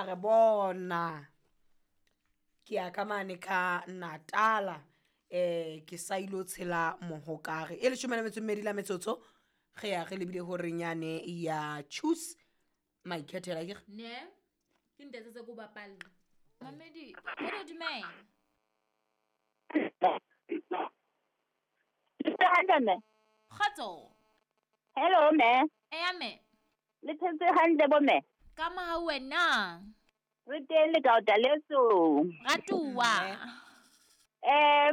A re bona ke ya ka mane ka Natala ke sa ilo tshela mohokare e leshome le metso e mmedi la metsotso re ya re lebile horeng yane ya choose maikhethela ke Ne ke ntetsetse ko bapalla mamedi re dumela. Hantle mme. Kgotso. Hello mme. Eya mme. Le phetse hantle bo mme? Ka mohau wena. Re teng le kaota leso. Ratuwa.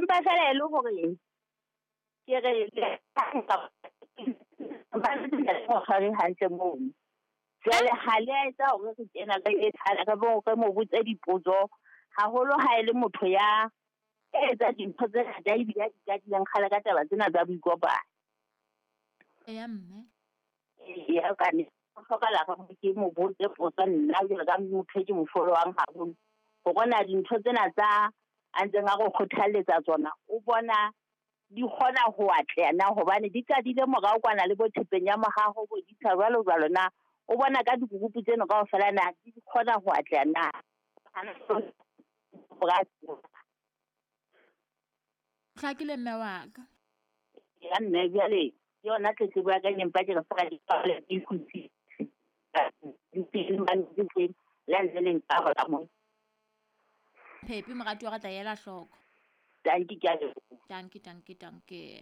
Mpa fela e le hore ke re ba le hantle moo. Jwale ha le a etsa hore re kena re e thala re bo re mo botse dipotso haholo ha e le motho ya etsa dintho tse ngata ebile a di qadileng kgale ka taba tsena tsa boikopano. Eya mme. Eya ka ne ho hlokahala hore ke mo botse potso nna jwalo ka motho e ke mo followang haholo. Hore na dintho tsena tsa a ntseng a re kgothalletsa tsona o bona di kgona ho atleha na, hobane di qadile morao kwana le bo thepeng ya mohaho bo ditsha jwalo jwalo na. O bona ka dikurupu tseno kaofela na di kgona ho atleha na. Hlakile mme wa ka. Ya mme jwale ke yona tletlebo ya ka e empa ke re fela di pale di kgutsi. Di teng mane di teng, le ha ntse le nkarola moo. Phepi moratuwa re tla ela hloko. Tanki ke a leboha. Tanki, tanki, tanki.